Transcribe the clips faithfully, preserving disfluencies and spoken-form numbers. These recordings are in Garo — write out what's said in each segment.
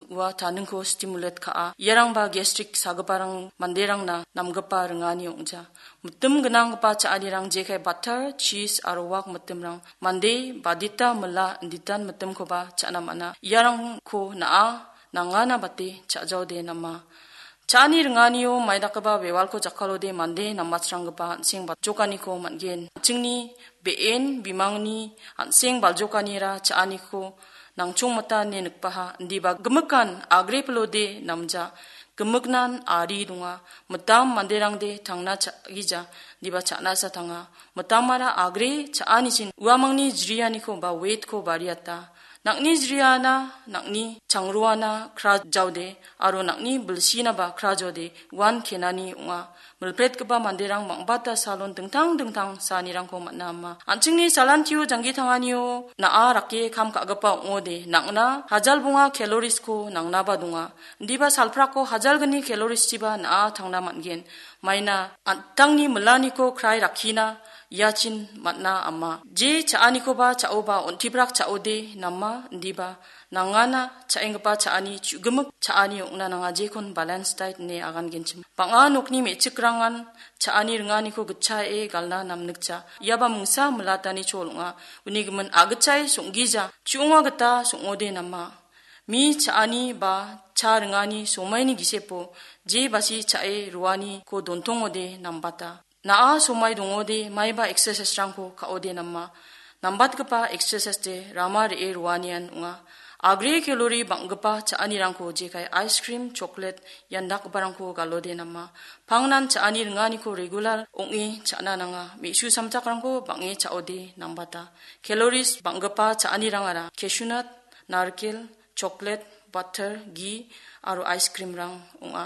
ua taningko stimulate ka·a. Iarangba gastric sagiparang manderangna namgipa ringani ong·ja. Mitim gnanggipa cha·anirang jekai butter, cheese aro wak mitimrang mande badita mila inditan mitimkoba cha·na man·a. Iarangko na·a nangana bate cha·jaode nama. Cha·ani ringanio maidakgipa wewalko jakkalode mande nambatsranggipa an·seng batjokaniko man·gen. An·chingni be·en bimangni an·seng baljokanira cha·aniko nangchongmita ine nikbaha, indiba gimikan agre pilode namja, gimiknan ari donga, mitam manderangde tangna cha·gija, indiba cha·nasa tanga, mitamara agre cha·anichin uamangni jrianiko ba weightko bariata, nang·ni jriana, nang·ni changruana krajaode, aro nang·ni bilsinaba krajaode, uan kenani ong·a. Milpretgipa manderang bang·bata salon dingtang dingtang saanirangko man·a ama. An·chingni salantio janggi tanganio na·a rake kam ka·gipa ong·ode, nang·na hajal bonga caloriesko nangnaba donga. Indiba salprako hajalgni calorieschiba na·a tangna man·gen. Maina an·tangni milaniko krai rakkina iachin man·a ama. Je cha·anikoba cha·oba on·tibrak cha·ode nama, indiba nangana cha·enggipa cha·ani chu·gimik cha·ani ong·na nanga, jekon balance diet ine agangenchim. Bang·a nokni me·chikrangan cha·ani ringaniko gitchae galna namnikja. Iaba mingsa milatani chol ong·a. Uni gimin agitchae song·gija, chu·onga gita song·ode nama. Mi cha·ani ba cha ringani somaini gisepo je basi cha·e roaniko dontongode nambata. Na·a somai dongode maiba exercise-rangko ka·ode nama. Nambatgipa exercise-de rama re·e roanian ong·a. Agre calorie bang·gipa cha·anirangko jekai ice cream, chocolate, iandakgiparangko galode nama. Pangnan cha·ani ringaniko regular ong·e cha·na nanga. Me·su samjakrangko bang·e cha·ode nambata. Calories bang·gipa cha·anirangara cashew nut, narikel, chocolate, butter, ghee aro ice cream-rang ong·a.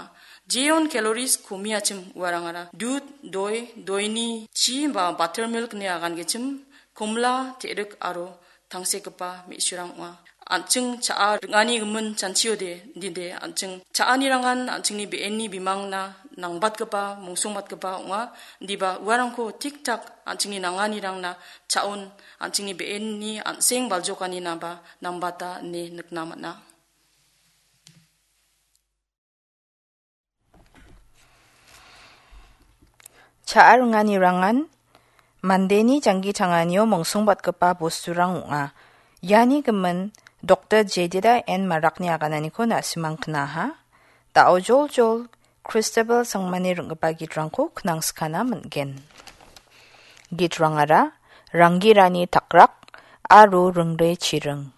Jeon calories komiachim uarangara dud, doi, doini chi ba buttermilk ine agangenchim, komla, te·rik aro tangsekgipa me·surang ong·a. An·ching cha·a ring·ani gimin chanchiode, dide an·ching cha·anirangan an·chingni be·enni bimangna nangbatgipa, mongsongbatgipa ong·a. Indiba uarangko tik-tak an·chingni nanganirangna cha·on, an·chingni be·enni an·seng baljokaninaba nambata ine nikna man·a. Cha·a ringanirangan mandeni janggi tanganio mongsongbatgipa bosturang ong·a. Iani gimin Doktor Jedida N Marakni agananiko na·simang knaha. Da·o joljol Christabel Sangmani ring·gipa gitrangko knangskana man·gen. Gitrangara Ranggirani Takrak aro Ringre Chiring.